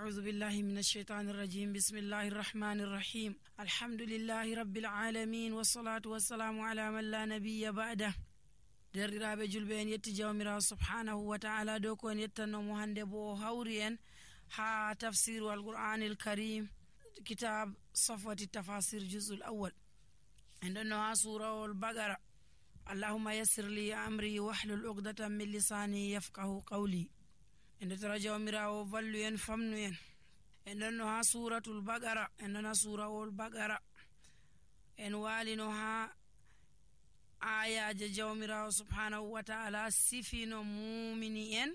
أعوذ بالله من الشيطان الرجيم. بسم الله الرحمن الرحيم. الحمد لله رب العالمين والصلاة والسلام على من لا نبي بعده. derdiraaɓe julɓe en yetti jawmirawo subhanahu wa ta'ala dow ko en yettannomo hande bo hawri en ha tafsiru alqur'anil karim kitab safwati tafasir juz'ul awwal en ɗonno ha surawol bagara. allahumma yassir li amri wahlul uqdatan min lisani yafqahu qawli. en tara jawmirawo vallu en famnu en ɗonno ha suratul bagara en ɗon ha surawol bagara en walino ha ayaje jawmirawo subhanahu wa ta'ala sifino mumini en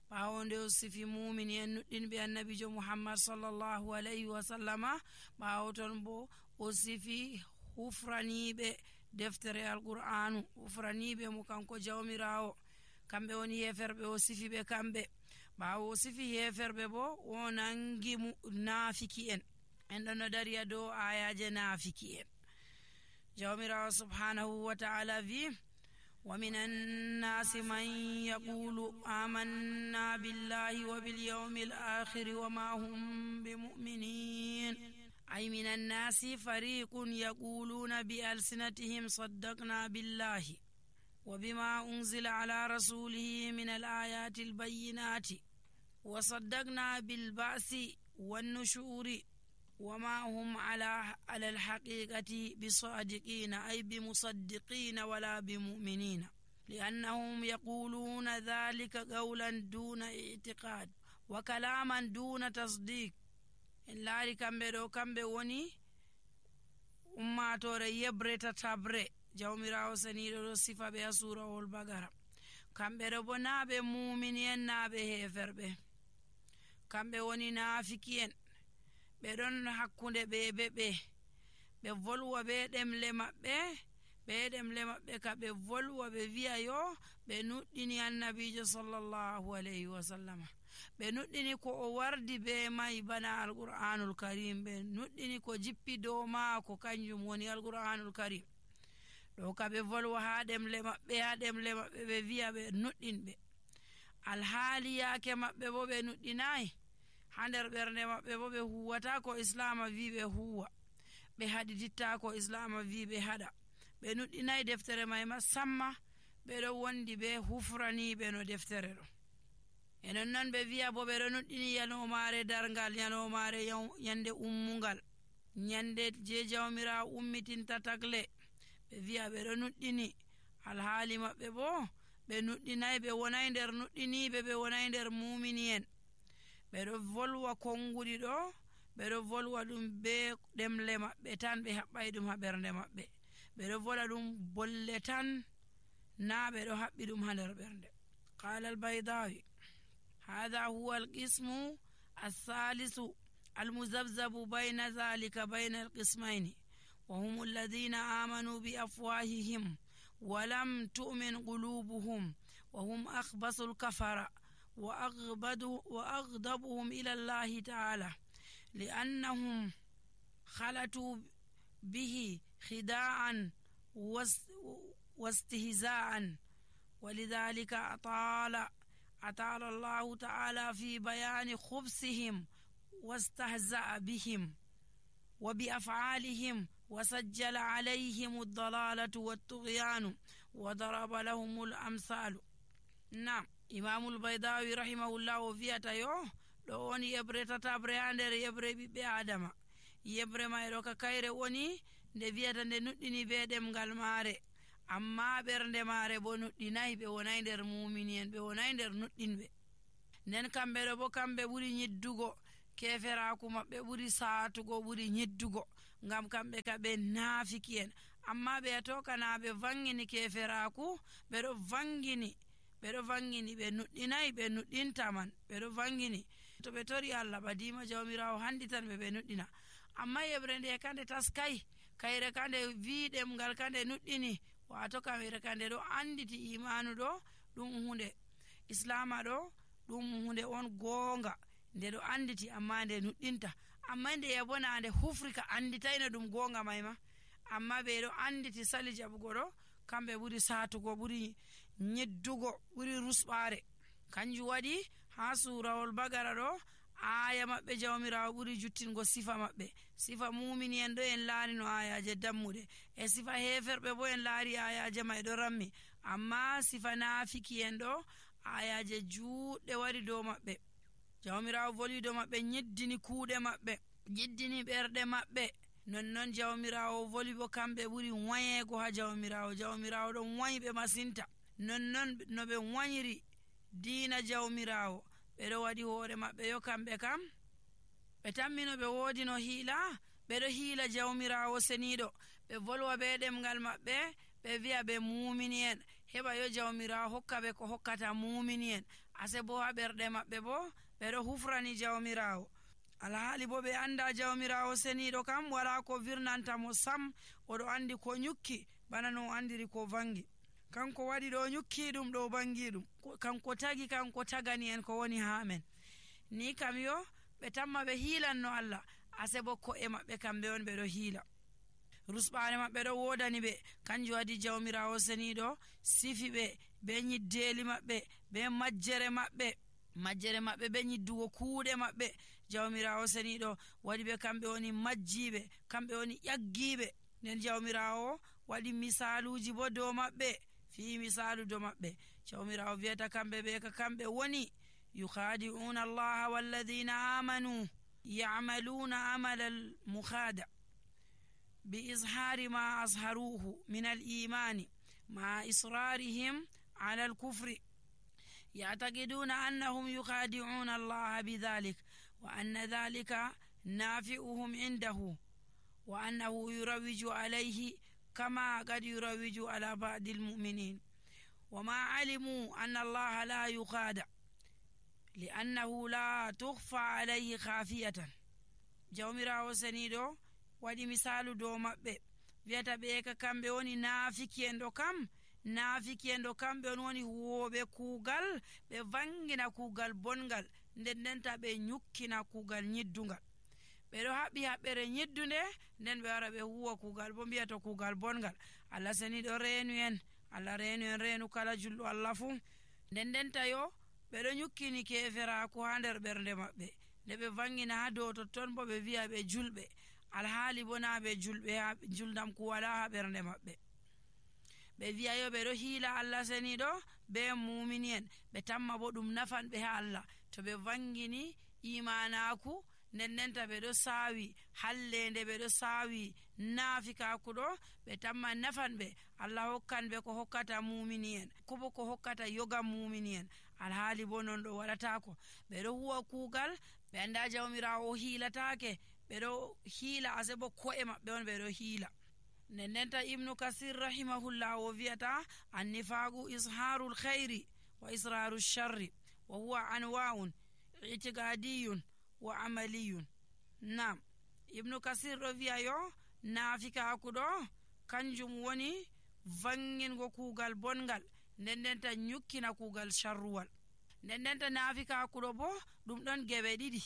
ɓawo nde o sifi mumini en nuɗɗinɓe annabijo muhammad sallallahu alayhi wa sallama. ɓawo ton bo o sifi hufraniɓe deftere alqur'anu, hufraniɓe mo kanko jawmirawo, kamɓe woni heferɓe. o sifi ɓe kamɓe. ɓawo o sifi heferɓe bo o nangi nafiki en ɗon no dariya dow ayaje nafiki en. jawmirawo subhanahu wa ta'ala vi wa minan nasi man yaqulu amanna billahi wa bil yawmil akhir wa ma hum bimu'minin. ay minan nasi fariqun yaquluna bi alsinatihim saddaqna billahi wa bima unzila ala rasulihi min al ayati al bayyinati wa saddaqna bil ba'si wan nushuri وما هم على الحقيقة بصادقين أي بمصدقين ولا بمؤمنين لأنهم يقولون ذلك قولا دون اعتقاد وكلاما دون تصديق. إلا كمبه وني ummatore yebre tatabre jawmirawo saniɗo sifa ɓe ha surawol bagara. kamɓe ɗo bo naɓe mumini en naɓe heferɓe, kamɓe woni nafiki en. ɓe ɗon hakkunde ɓe volwa ɓe ɗemle maɓɓe ka ɓe volwa ɓe wi'a yo ɓe nuɗɗini annabijo sallallahu alayhi wa sallama. ɓe nuɗɗini ko o wardi be mai bana alqur'anul karim. ɓe nuɗɗini ko jippi dow maako kanjum woni alqur'anul karim. ɗo ka ɓe volwa ha ɗemle maɓɓe ɓe wi'a ɓe nuɗɗinɓe, alhaali yaake maɓɓe bo ɓe nuɗɗinayi. ha nder ɓernde maɓɓe bo ɓe huwata ko islama wi ɓe huwa, ɓe haɗititta ko islama wi ɓe haɗa. ɓe nuɗɗinayi deftere may ma samma, ɓe ɗo wondi ɓe hufraniɓe no deftere ɗo. enon noon ɓe wiya bo ɓe ɗo nuɗɗini yanomare dargal, yanomare yande ummungal, nyande je jawmira ummitinta tagle. ɓe wiya ɓe ɗo nuɗɗini, alhaali maɓɓe bo ɓe nuɗɗinayi, ɓe wonayi nder nuɗɗiniɓe, ɓe wonayi nder mumini en. ɓe ɗo volwa konguɗi ɗo, ɓe ɗo volwa ɗum be ɗemle maɓɓe tan, ɓe haɓɓay ɗum ha ɓernde maɓɓe. ɓe ɗo vola ɗum bolle tan, na ɓe ɗo haɓɓi ɗum ha nder ɓernde. qala albaydawi hadha huwa alqismu althalithu almuzabzabu bayna dhalika bayna alqismayni wa hum alladhina amanu bi afwahihim wa lam tu'min qulubuhum wa hum akhbasu alkafara وأغضبهم إلى الله تعالى لأنهم خلطوا به خداعا واستهزاء. ولذلك أطال الله تعالى في بيان خبثهم واستهزأ بهم وبأفعالهم وسجل عليهم الضلالة والطغيان وضرب لهم الأمثال. نعم. imamul baydawi rahimahullah o wiyata yo ɗo woni yebre tatabre ha nder yebre ɓiɓɓe adama. yebre may ɗo ka kayre woni nde wiyata nde nuɗɗini be ɗemgal maare, amma ɓernde maare bo nuɗɗinayi. ɓe wonayi nder mumini en, ɓe wonayi nder nuɗɗinɓe. nden kamɓe ɗo bo kamɓe ɓuri nyiddugo, keferaku maɓɓe ɓuri saatugo, ɓuri nyiddugo, ngam kamɓe ka ɓe nafiki en. amma ɓe ato kana ɓe vangini keferaku, ɓe ɗo vangini ɓe nuɗɗinayi, ɓe nuɗɗintaman, ɓe ɗo vangini. to ɓe tori Allah badima jawmirawo handitan ɓe nuɗɗina. amma yebre nde kande taskayi, kayre kande wiɗem ngal kande nuɗɗini. wato kamere kande ɗo anditi imanu ɗo ɗum hunde, islama ɗo ɗum hunde on gonga, nde ɗo anditi amma nde nuɗɗinta. amma nde yabona nde hufrika anditayno ɗum gonga mayma, amma ɓe ɗo anditi sali jaɓugo ɗo kamɓe ɓuri satugo, ɓuri nyeddugo, ɓuri rusɓare. kanjum waɗi ha surawol bagara ɗo aya maɓɓe jawmirawo ɓuri juttingo sifa maɓɓe. Sifa mumini en ɗo en laari no ayaje dammuɗe, e sifa heferɓe bo en laari ayaje may ɗo rammi, amma sifa nafiki en ɗo ayaje juɗɗe wari dow maɓɓe. Jawmirawo voli dow maɓɓe, nyiddini kuuɗe maɓɓe, nyiddini ɓerɗe maɓɓe. Nonnon jawmirawo voli bo kamɓe ɓuri wayego ha jawmirawo. Jawmirawo ɗon wayiɓe masinta. Nonnon no ɓe wayiri diina jawmirawo, ɓeɗo waɗi hoore maɓɓe yo kamɓe kam ɓe tammino ɓe woodi no hiila, ɓeɗo hiila jawmirawo seniɗo. Ɓe volwa be ɗemgal maɓɓe, ɓe wi'a ɓe mumini en, heɓa yo jawmirawo hokka ɓe ko hokkata mumini en. Ase bo ha ɓerɗe maɓɓe bo ɓeɗo hufrani jawmirawo. Alhaali bo ɓe anda jawmirawo seniɗo kam wala ko virnanta mo sam, oɗo andi ko nyukki bana no andiri ko vangi. Kanko waɗi ɗo nyukki ɗum, ɗo bangi ɗum, kanko tagi, kanko tagani en ko woni ha men. Ni kam yo ɓe tamma ɓe hiilanno Allah, ase bo ko'e maɓɓe kamɓe on ɓeɗo hiila. Rusɓare maɓɓe ɗo wodani ɓe, kanjum waɗi jawmirawo seniɗo sifi ɓe be nyiddeli maɓɓe, be majjere maɓɓe, majjere maɓɓe be nyiddugo kuuɗe maɓɓe. Jawmirawo seniɗo waɗi ɓe kamɓe woni majjiɓe, kamɓe woni ƴaggiɓe. Nden jawmirawo waɗi misaluji bo dow maɓɓe, fi misalu dow maɓɓe. Jawmirawo wiyata kamɓe ɓe ka kamɓe woni yukhadi'una allaha walladhina amanu ya'maluna amala al-mukhada bi izhari ma azharuhu min al-imani ma israrihim ala al-kufri ya'taqiduna annahum yukhadi'una allaha bidhalik wa anna dhalika nafi'uhum indahu wa annahu yurawiju alayhi kama qad yurawiju ala ba'di al-mu'minin wa ma alimu anna allaha la yukhada li'annahu la tukhfa alayhi khafiyatan. Jawmirawo seniɗo waɗi misalu dow maɓɓe, wiyata ɓe ka kamɓe woni naafiki en ɗo kam. Naafiki en ɗo kamɓe on woni huwoɓe kuugal, ɓe vangina kuugal bongal, nden ndenta ɓe nyukkina kuugal nyiddungal. Ɓeɗo haɓɓi haɓɓere nyiddunde, nden ɓe wara ɓe huwa kuugal bo mbiya to kuugal bongal. Allah seniɗo reenu en, Allah reenu en reenu kala julɗo Allah fuu. Nden ndenta yo ɓeɗo nyukkini keferaku ha nder ɓernde maɓɓe, nde ɓe vangina ha dow totton bo ɓe wi'a ɓe julɓe, alhaali bo na ɓe julɓe, ha julnam ku wala ha ɓernde maɓɓe. Ɓe wi'a yo ɓeɗo hiila Allah seniɗo be mumini en, ɓe tamma bo ɗum nafan ɓe ha Allah to ɓe vangini imanaku. Nden ndenta ɓeɗo saawi hallende, ɓeɗo saawi naafikaku ɗo, ɓe tamma nafan ɓe. Allah hokkan ɓe ko hokkata mumini en, kobo ko hokkata yogam mumini en, alhaali bo non ɗo waɗatako. Ɓeɗo huwa kuugal, ɓe anda jawmirawo hiilatake, ɓeɗo hiila, ase bo ko'e maɓɓe on ɓeɗo hiila. Nden ndenta Ibnu Kasir rahimahullah o wiyata annifagu izharul khayri wa israru sharri wa huwa anwa'un i'tiqadiyun wa amaliyun. Nam Ibnu Kasir ɗo wiya yo naafikaku ɗo kanjum woni vangingo kuugal bongal, nden ndenta nyukkina kuugal sharruwal. Nden ndenta naafikaku ɗo bo ɗum ɗon geɓe ɗiɗi.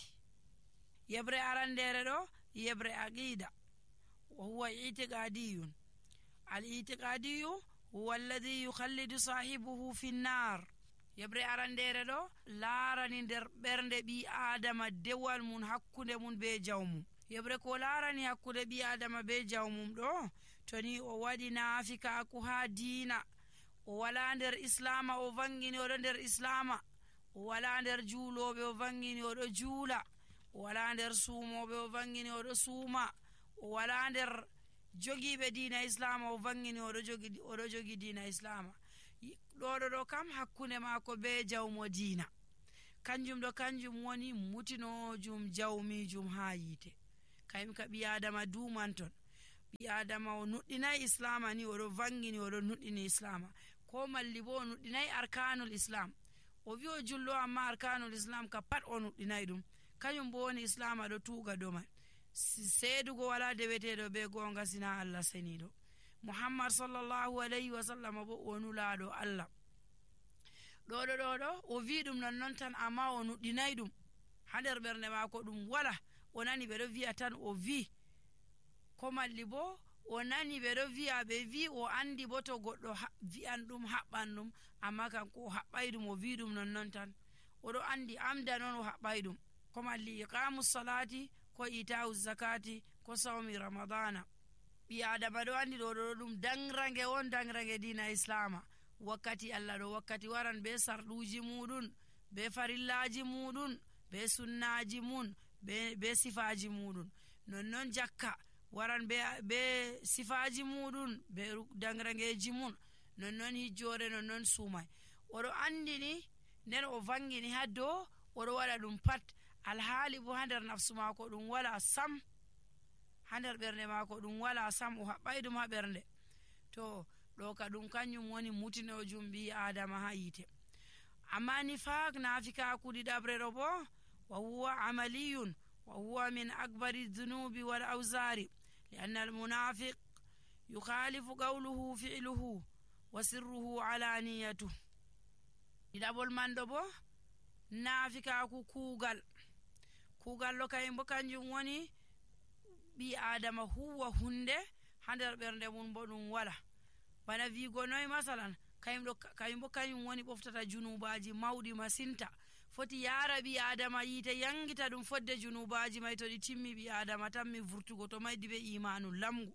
Yebre arandere ɗo yebre aqida, wa huwa i'tiqadiyun. Al-i'tiqadiyu huwa alladhi yukhallidu sahibuhu fi nnar. Yebre arandere ɗo laarani nder ɓernde ɓi adama dewal mum hakkunde mum be jawmum. Yebre ko laarani hakkunde ɓi adama be jawmum ɗo, to ni o waɗi naafikaku ha diina, o wala nder islama, o vangini oɗo nder islama, o wala nder juuloɓe, o vangini oɗo juula, o wala nder suumoɓe, o vangini oɗo suuma, o wala nder jogiɓe diina islama, o vangini oɗo jogi diina islama. Ɗo kam hakkunde maako be jawmo diina, kanjum ɗo kanjum woni mutinojum jawmijum ha yiite. Kayum ka ɓi adama dumanton, ɓi adama o nuɗɗinayi islama ni oɗo vangini oɗo nuɗɗini islama, ko malli bo o nuɗɗinayi arkanul islam. O wi o julɗo amma arkanul islam ka pat o nuɗɗinayi ɗum, kañum bo woni islama ɗo tuuga dow man. Seedugo wala deweteɗo be gonga sina Allah seniɗo. Muhammad sallallahu alayhi wa sallam bo o nulaɗo Allah. ɗo o wi ɗum nonnon tan, amma o nuɗɗinayi ɗum ha nder ɓernde maako, ɗum wala. O nani ɓeɗo wi'a tan o wi, ko malli bo o nani ɓeɗo wi'a, ɓe wi o andi bo to goɗɗo wi'an ɗum haɓɓan ɗum, amma kanko o haɓɓay ɗum, o wi ɗum nonnon tan, oɗo andi amda non o haɓɓay ɗum, ko malli iqamu salati ko ita'u zakati ko sawmi ramadana. ɓi adama ɗo andi ɗo ɗum dangrange won dangrange dina islama. wakkati Allah ɗo wakkati waran be sarɗuji muɗum, be farillaji muɗum, be sunnaji mun, be sifaji muɗum. nonnon jakka waran be sifaji muɗum, be dangrangeji mun. nonnon hijjore, nonnon sumai. oɗo andini nden o vangini ha dow oɗo waɗa ɗum pat, alhaali bo ha nder nafsu mako ɗum wala sam, ha nder ɓernde mako ɗum wala sam, o haɓɓai ɗum ha ɓernde. to ɗo ka ɗum kanjum woni mutinojum ɓi adama ha yite. amma nifaq nafikaku ɗiɗaɓre ɗo bo wa huwa amaliyun wa huwa min akbari dhunubi wal awzari lianna almunafiq yukhalifu qawluhu fi'luhu wa sirruhu alaniyatu. ɗiɗaɓol man ɗo bo nafikaku kuugal ɗo kayum bo kanjum woni ɓi adama huwa hunde ha nder ɓernde mum bo ɗum wala. bana wigo noy masalan kayum bo kayum woni ɓoftata junubaji mawɗi masinta. foti yara ɓi adama yite yangita ɗum fodde junubaji may to ɗi timmi ɓi adama tammi vurtugo to maydi be imanu lamgu,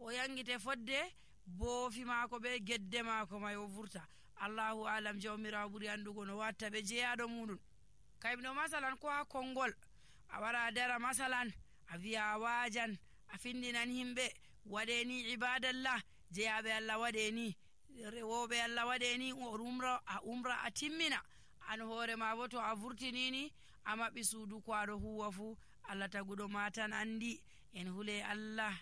o yangite fodde boofi mako be gedde mako may o vurta. allahu alam jawmirawo ɓuri andugo no watta ɓe jeyaɗo muɗum. kayum ɗo masalan ko ha konngol a wara dara masalan a wiya a wajan a findinan himɓe waɗeni ibadallah, jeyaɓe Allah waɗeni, rewoɓe Allah waɗeni a umra a timmina. an hoore ma bo to a vurtinini a maɓɓi suudu ko aɗo huwa fu Allah taguɗo ma tan andi. en hule Allah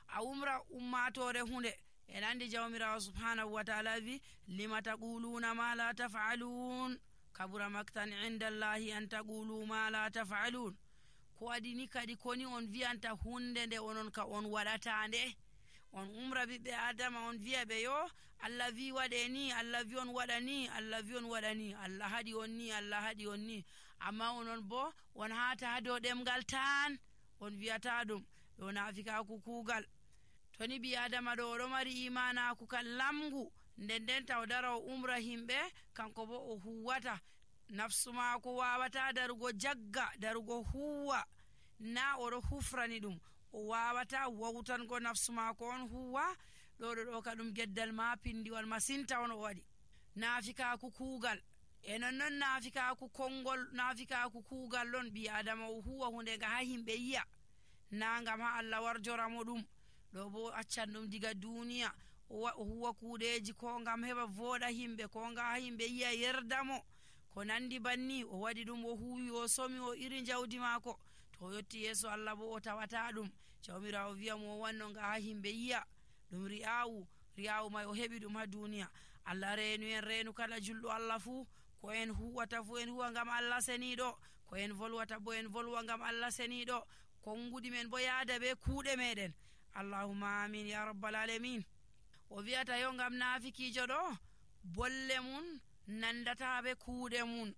a umra ummatore hunde. en andi jawmirawo subhanahu wa ta'ala wi lima taquluna ma la taf'alun kabura maktan indallahi an taqulu ma la taf'alun. ko waɗini kadi koni on wiyanta hunde nde onon ka on waɗata nde. on umra ɓiɓɓe adama on wiya ɓe yo Allah wi waɗe ni, Allah wi on waɗa ni, Allah wi on waɗa ni, Allah haɗi on ni, Allah haɗi on ni. amma onon bo on hata ha dow ɗemgal tan on wiyata ɗum. ɗo nafikaku kuugal. to ni ɓi adama ɗo oɗo mari imanaku kan lamgu, nden taw dara o umra himɓe kanko bo o huwata. nafsu mako wawata darugo jagga, darugo huwa, na oɗo hufrani ɗum. o wawata wawtango nafsu mako on huwa. ɗo ka ɗum geddal ma pindiwal masinta on o waɗi. nafikaku kuugal e nonnon nafikaku konngol, nafikaku kuugal ɗon ɓi adama o huwa hunde nga ha himɓe yiya, na ngam ha Allah warjoramo ɗum. ɗo bo accan ɗum diga duniya o huwa kuuɗeji ko ngam heɓa voɗa himɓe, ko nga ha himɓe yiya yerdamo, ko nandi banni. o waɗi ɗum o huwi o somi o iri jawdi mako. to o yetti yeso Allah bo o tawata ɗum. jawmirawo wiyamo o wanno nga ha himɓe yiya. ɗum ri'awu may o heɓi ɗum ha duniya. Allah reenu en reenu kala julɗo Allah fuu. ko en huwata fuu en huwa ngam Allah seniɗo, ko en volwata bo en volwa ngam Allah seniɗo, konngudi men bo yaada be kuuɗe meɗen. allahumma amin ya rabbal alamin. o wiyata yo ngam nafikijo ɗo bolle mun nandata be kuuɗe mun,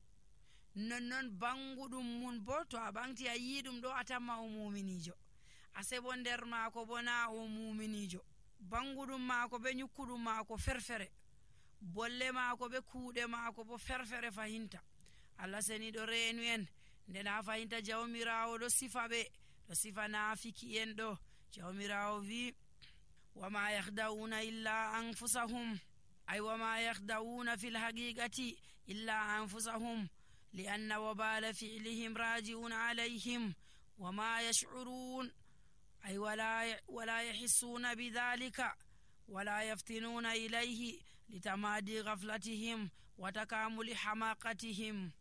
nonnon banguɗum mun bo to a ɓanti a yi ɗum ɗo a tamma o muminijo. a sebo nder maako bo na o muminijo. banguɗum maako be nyukkuɗum maako ferfere, bolle maako be kuuɗe maako bo ferfere fahinta. Allah seniɗo reenu en nden ha fahinta jawmirawo ɗo sifa ɓe, ɗo sifa nafiki en ɗo. jawmirawo wi wama yahda'una illa anfusahum, ay wama yahda'una fil haqiqati illa anfusahum lianna wabala fi'lihim raji'un alayhim wama yash'urun, ay wala yahissuna bidhalika wala yaftinuna ilayhi litamadi ghaflatihim wa takamuli hamaqatihim.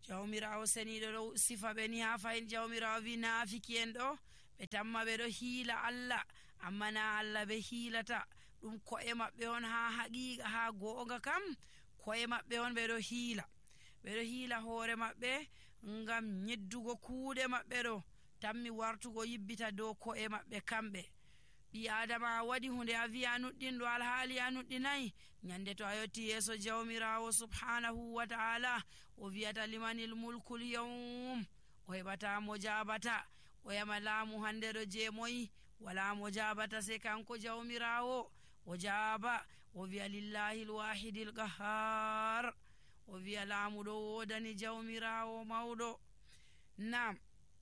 jawmirawo seniɗo ɗo sifa ɓe ni ha fayin. jawmirawo wi nafiki en ɗo ɓe tamma ɓe ɗo hiila Allah, amma na Allah ɓe hiilata ɗum. ko'e maɓɓe on ha haqiqa, ha goonga kam ko'e maɓɓe on ɓe ɗo hiila hoore maɓɓe ngam nyeddugo kuuɗe maɓɓe ɗo tammi wartugo yibbita dow ko'e maɓɓe kamɓe. ɓi adama a waɗi hunde a wi a nuɗɗinɗo alhaali a nuɗɗinayi, nyande to a yetti yeeso jawmirawo subhanahu wa ta'ala o wiyata limanil mulkul yawm, o heɓata mo jabata. o yama laamu hande ɗo je moyi, wala mo jabata se kanko jawmirawo. o jaaba o wiya lillahi lwahidil qahar, o wi'a laamuɗo wodani jawmirawo mawɗo. Nam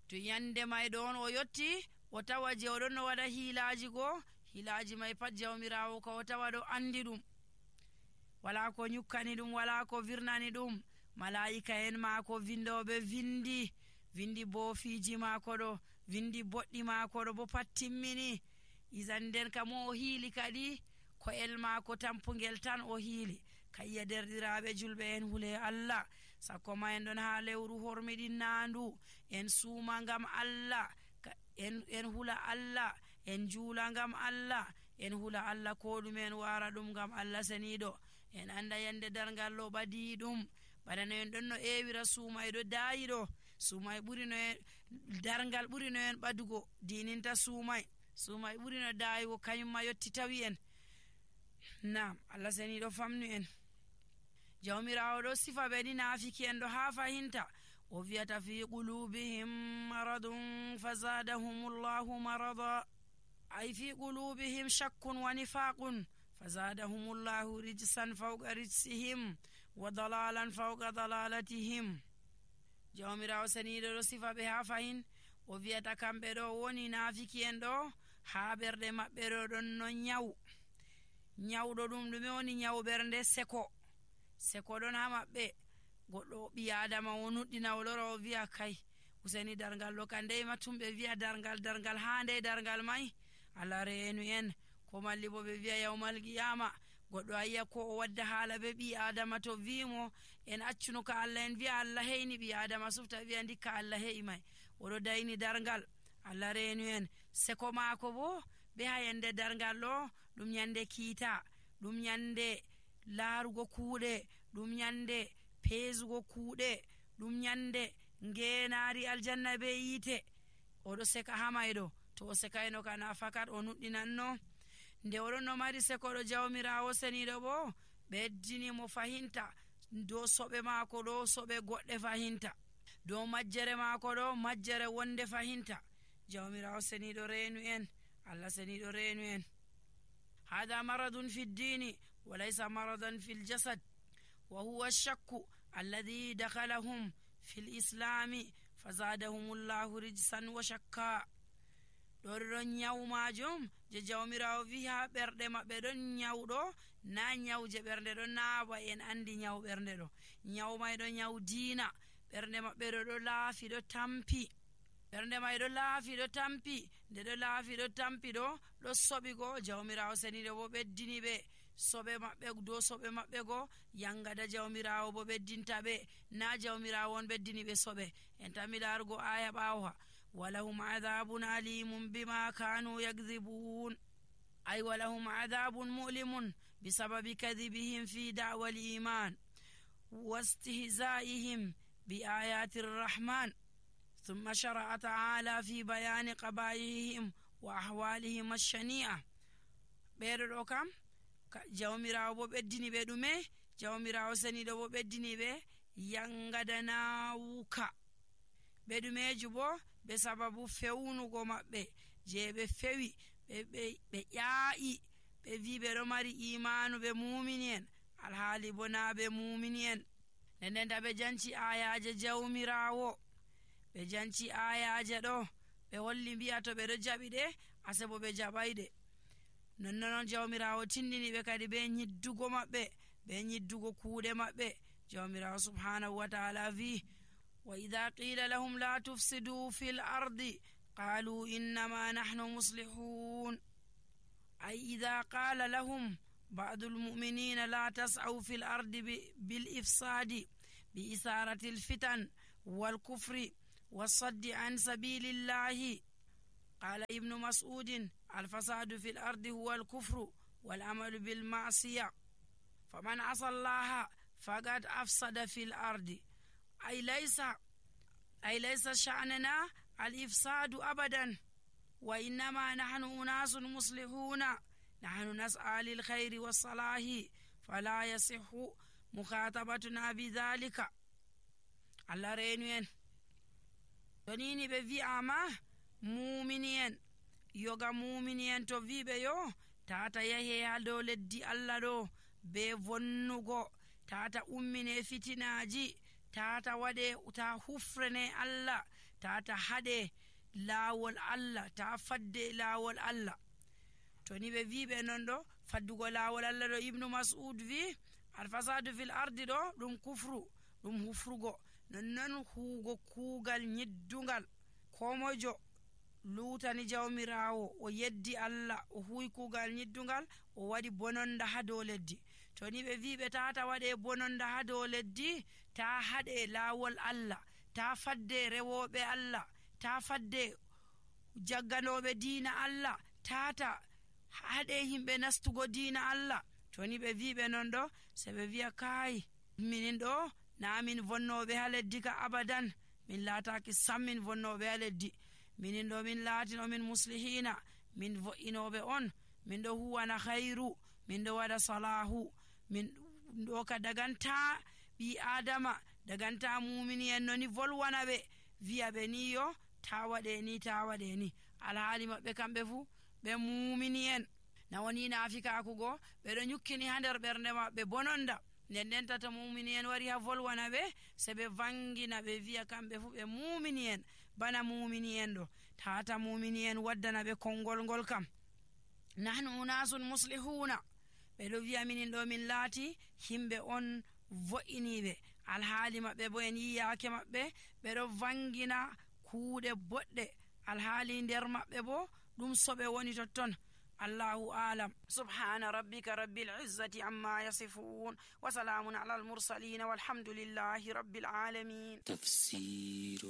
to yande may ɗon o yotti o tawa je oɗon no waɗa hiilaaji goo, hiilaaji may pat jawmirawo ka o tawa ɗo andi ɗum, wala ko nyukkani ɗum, wala ko virnani ɗum. malaa'ika en maako vindoɓe vindi boofiji maako ɗo, vindi boɗɗi maako ɗo bo pat timmini. isan nden ka mo o hiili kadi ko'el maako tampugel tan o hiili. kayya derɗiraɓe julɓe en hule Allah, sakko ma en ɗon ha lewru hormiɗinnandu, en suuma ngam Allah, en hula Allah, en juula ngam Allah, en hula Allah ko ɗume en wara ɗum ngam Allah seniɗo. en anda yande dargal ɗo ɓadi ɗum, bana no en ɗon no ewira suumay ɗo daayi ɗo. suumay ɓuri no en dargal ɓuri no en ɓadugo dininta suumay ɓuri no daayugo, kañumma yotti tawi en. nam Allah seniɗo famnu en. jawmirawo ɗo sifa ɓe ni naafiki en ɗo ha fahinta, o wiyata fi qulubihim maradun fazadahumullahu marada, ay fi qulubihim shakkun wa nifaqun fazadahumullahu rijsan fawqa rijsihim wa dalalan fawqa dalalatihim. jawmirawo seniɗo ɗo sifa ɓe ha fahin, o wiyata kamɓe ɗo woni naafiki en ɗo ha ɓerɗe maɓɓe ɗo ɗon no nyawɗo ɗum ɗume woni nyawu ɓernde? seko ɗon ha maɓɓe. goɗɗo ɓi adama o nuɗɗina o lora o wiya kay useni dargal ɗo ka ndey matumɓe wiya dargal ha ndey dargal may. Allah reenu en. ko malli bo ɓe wiya yawmal qiyama goɗɗo ayiya ko o wadda haala be ɓi adama to wimo en accuno ka Allah, en wiya Allah heyni ɓi adama sufta wiya ndikka Allah heyi may, oɗo dayni dargal. Allah reenu en. seko maako bo be ha yande dargal ɗo ɗum yande kiita, ɗum yande laarugo kuuɗe, ɗum yande peesugo kuuɗe, ɗum yande ngeenaari aljanna be yiite. oɗo seka ha mayɗo, to o sekayno kana fakat o nuɗɗinanno. nde oɗon no mari sekoɗo jawmirawo seniɗo bo ɓeddini mo fahinta dow soɓe maako ɗo soɓe goɗɗe fahinta, dow majjere maako ɗo majjere wonde fahinta. jawmirawo seniɗo reenu en. Allah seniɗo reenu en. hada maradun fi ddini wa laysa maradan fi ljasad wa huwa shakku alladhi dakhalahum fi lislami fazadahumullahu rijsan wa shakka. ɗon nyawu majum je jawmirawo wi ha ɓerɗe maɓɓe ɗon nyawɗo, na nyawu je ɓernde ɗon naawa, en andi nyawu ɓernde ɗo, nyawu may ɗo nyawu diina. ɓernde maɓɓe ɗo laafi ɗo tampi, ɓernde may ɗo laafi ɗo tampi. nde ɗo laafi ɗo tampi ɗo soɓi go. jawmirawo seniɗo bo ɓeddini ɓe soɓe maɓɓe dow soɓe maɓɓe go, yangada jawmirawo bo ɓeddinta ɓe, na jawmirawo on ɓeddini ɓe soɓe. en tammi laarugo aya ɓawo ha walahum adabun alimun bima kanu yakdhibun, ay walahum adabun mu'limun bisababi kadhibihim fi da'wa al-iman wastihza'ihim bi ayati ar-rahman. ثم شرع تعالى في بيان قبائحهم وأحوالهم الشنيعة. ɓeɗo kam jawmirawo bo ɓeddini ɓe ɗume? jawmirawo seniɗo bo ɓeddini ɓe yangada nawuka ɓe ɗumeju bo be sababu fewnugo maɓɓe je ɓe fewi ɓe ƴaa'i ɓe wi ɓe ɗo mari imanu ɓe mumini en alhaali bo na ɓe mumini en. ndendenta ɓe janci ayaje jawmirawo, ɓe janci ayaje ɗo ɓe holli mbi'a to ɓe ɗo jaɓi ɗe asebo ɓe jaɓayɗe. nonnonon jawmirawo tindini ɓe kadi be nyiddugo maɓɓe, be nyiddugo kuuɗe maɓɓe. jawmirawo subhanahu wa ta'ala wi wa idha qila lahum la tufsidu fil ardi qalu innama nahnu muslihun, ay idha qala lahum ba'du almu'minina la tas'aw fil ardi bil ifsadi bi isarati al fitan wal kufri والصد عن سبيل الله. قال ابن مسعود الفساد في الأرض هو الكفر والعمل بالمعصية، فمن عصى الله فقد أفسد في الأرض. أي ليس شأننا الإفساد أبدا، وإنما نحن أناس مصلحون، نحن نسعى للخير والصلاح فلا يصح مخاطبتنا بذلك. الله رينين tonini ɓe wi'ama mumini en, yoga mumini en to wiɓe yo tata yahe ha dow leddi Allah ɗo be vonnugo tata ummine fitinaji, tata waɗe ta hufrene Allah, tata haɗe laawol Allah, ta fadde laawol Allah. to ni ɓe wiɓe non ɗo faddugo laawol Allah ɗo, ibnu mas'ud wi alfasadu fil ardi ɗo ɗum kufru, ɗum hufrugo. nonnon huugo kuugal nyiddungal, ko mojo lutani jawmirawo o yeddi Allah, o huwi kuugal nyiddungal, o waɗi bononda ha dow leddi. to ni ɓe wiɓe tata waɗe bononda ha dow leddi, ta haɗe laawol Allah, ta fadde rewoɓe Allah, ta fadde jagganoɓe diina Allah, tata haɗe himɓe nastugo diina Allah. to ni ɓe wiɓe non ɗo, se ɓe wiya kai minin ɗo na min vonnoɓe ha leddi ka abadan, min laataki sam min vonnoɓe ha leddi, minin ɗo min laatino min muslihina, min vo'inoɓe on, min ɗo huwana khairu, min ɗo waɗa salahu, min ɗo ka daganta ɓi adama, daganta mumini en noni volwana ɓe, wiya ɓe ni yo ta waɗe ni, ta waɗe ni. alhaali maɓɓe kamɓe fu ɓe mumini en, na woni nafikakugo, ɓeɗo nyukkini ha nder ɓernde maɓɓe bononda. nden nden tata mumini en wari ha volwana ɓe, se ɓe vangina ɓe wiya kamɓe fu ɓe mumini en, bana mumini en ɗo. tata mumini en waddana ɓe konngol ngol kam, nahnu unasun muslihuna, ɓeɗo wiya minin ɗo min laati himɓe on vo'iniɓe, alhaali maɓɓe bo en yiyake maɓɓe ɓeɗo vangina kuuɗe boɗɗe, alhaali nder maɓɓe bo ɗum soɓe woni totton. allahu alam. subhana rabbika rabbil izzati amma yasifun, wa salamun ala al mursalin, walhamdulillahi rabbil alamin.